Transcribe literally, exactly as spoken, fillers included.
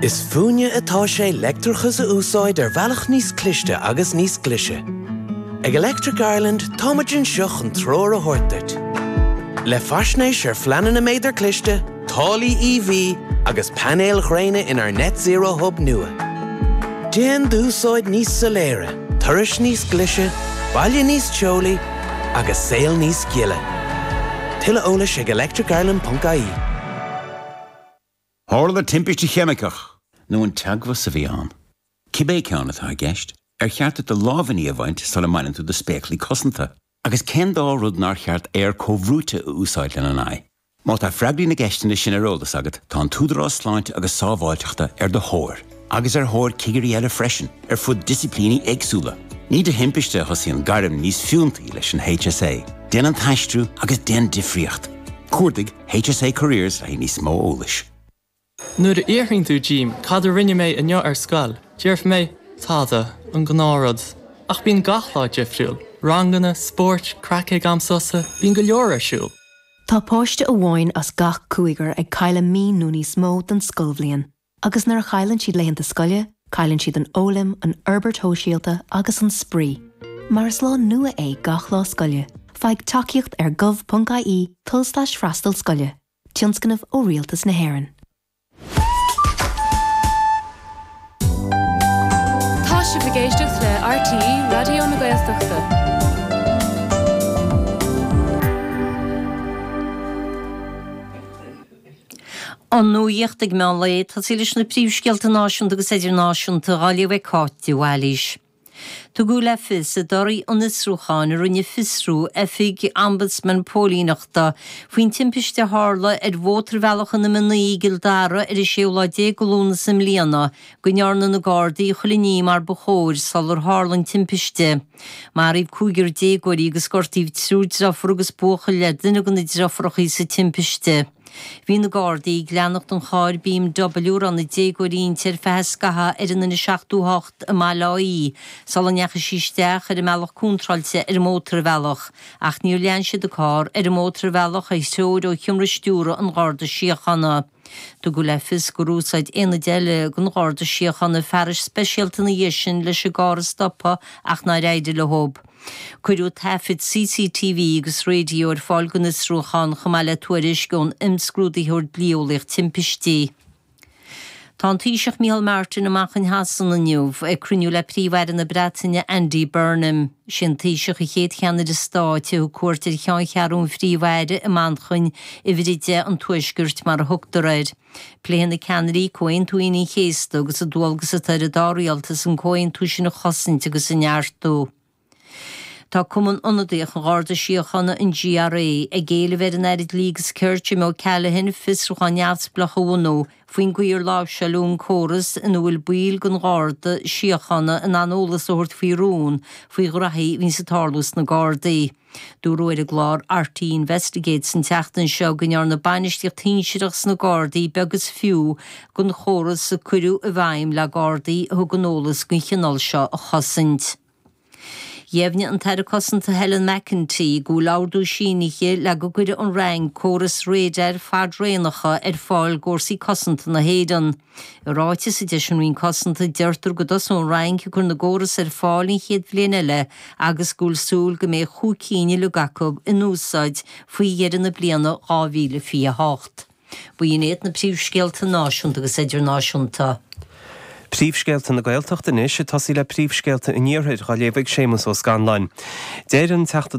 Is fúinne atá sé leictreachas a úsáid ar bhealach níos cliste agus níos glaise. Ag Electric Ireland táimid anseo chun treoir a thabhairt duit. Le faisnéis ar phleananna méadar cliste, táillí EV agus painéil ghréine inár Net Zero Hub nua. Déan d'úsáid níos soiléire, turais níos glaise, baile níos teolaí agus saol níos gile. Tuilleadh eolais ag electricireland.ie. Tharla timpiste cheimiceach nó an teagmhas a bhí ann. Cibé ceann atá i gceist, ar cheart do lámhainní a bhaint sula mbaineann tú do spéaclaí cosanta. Agus cén dá rud nár cheart aer comhbhrúite a úsáid lena n-aghaidh. Má tá freagraí na gceisteanna sin ar eolas agat, tá an tÚdarás Sláinte agus Sábháilteachta ar do thóir, agus ar thóir cigirí eile freisin, ar fud disciplíní éagsúla. Ní de thimpiste a thosaíonn gairm níos fiúntaí leis an HSA. Déan an t-aistriú agus déan difríocht. Cuardaigh HSA Careers le níos mó eolais. Nuair a fhiafraíonn tú díom cad a rinne mé inniu ar scoil, déarfaidh mé tada an gnáthrud. Ach bíonn gach lá difriúil, ranganna, spóirt, craic ag am sosa, bíonn go leor ar siúl. Tá páiste amháin as gach cúigear ag cailleadh mí nó níos mó den scoilbhliain, agus nuair a chailleann siad laethanta scoile, cailleann siad an fhoghlaim, an fhorbairt shóisialta agus an spraoi. Mar is lá nua é gach lá scoile, faigh tacaíocht ar gov.ie tulslais freastal scoile, tionscnamh ó Rialtas na hÉireann. Tá sibh ag éisteacht le RTÉ Raidió na Gaeltachta. An nuacht ag meán lae, ag tosaí leis na príomhscéalta náisiúnta agus idirnáisiúnta á léamh ag Cáit de Bhailís. Tugadh le fios i dtorthaí an fhiosrúcháin a rinne Fiosrú, Oifig Ombudsman Póilíneachta, faoin timpiste a tharla ar Mhótarbhealach an M a naoi i gCill Dara ar an séú lá déag de Lúnasa i mbliana, go ndearna na Gardaí chuile ní mar ba chóir sular tharla an timpiste. Maraíodh cúigear déagóirí agus gortaíodh triúr deirfiúr agus buachaill le duine de na deirfiúracha sa timpiste. Bhí na Gardaí ag leanacht an chairr BMW a raibh na déagóirí inti ar feadh scaitheamh ar an N seachtó a hocht i mBaile Átha Í sula ndeachaigh sí isteach ar an mbealach contráilte ar an mótarbhealach ach níor lean siad an carr ar an mótarbhealach ar threoir ó sheomra stiúrtha an Gharda Síochána. Tugadh le fios gur úsáid aonad eile den Gharda Síochána fearais speisialta ina dhiaidh sin leis an gcarr a stopadh ach nár éirigh leo. Cuireadh taifid CCTV agus raidió ar fáil don fhiosrúchán chomh maith le tuairisc ón imscrúdaitheoir dlí-eolaíoch timpistí. Tá an Taoiseach Micheál Martin i Manchain Shasana inniu ag cruinniú le Príomh-Aire na Breataine Andy Burnham. Sé an Taoiseach an chéad cheannaire stáit a thug cuairt ar cheanncheathrú an Phríomh-Aire i Manchain, Uimhir a deich an Tuaiscirt mar a thugtar air. Pléifidh na ceannairí Comhaontú Aoine an Chéasta agus an dualgas atá ar an dá rialtas an comhaontú sin a chosaint agus a neartú. Tá Cumann Ionadaíoch an Gharda Síochána, an GRA, ag éileamh ar an Aire Dlí agus Cirt Jim O'Callaghan fiosrúchán neamhspleách a bhunú faoin gcaoi ar láimhseáladh an córas ina bhfuil baill den Gharda Síochána in ann eolas a thabhairt faoi rún faoi ghraithí a bhíonns ag tarlú sna Gardaí. Dúradh ar an gclár RTÉ Investigates an tseachtain seo go ndearna bainistíocht shinsearach sna Gardaí beag is fiú den chóras a cuireadh i bhfeidhm le Gardaí a thugann eolas den chineál seo a chosaint. Dheimhnigh an tAire Cosanta Helen McEntee go bhfuil ordú sínithe le go gcuirfidh an Fhrainc córas radair fadraonacha ar fáil d'fhórsaí cosanta na hÉireann. I ráiteas a d'eisigh an Roinn Cosanta deirtear go dtosóidh an Fhrainc ag cur na gcóras ar fáil an chéad bhliain eile agus go bhfuil súil go mbeidh chúig cinn uilig acu in úsáid faoi dheireadh na bliana dhá mhíle fiche a hocht. B'in iad na príomhscéalta náisiúnta agus idirnáisiúnta. Príomhscéalta na Gaeltachta anois ag tosaí le príomhscéalta an Iarthair á léamh ag Séamus Ó Scanláin. Deir an Teachta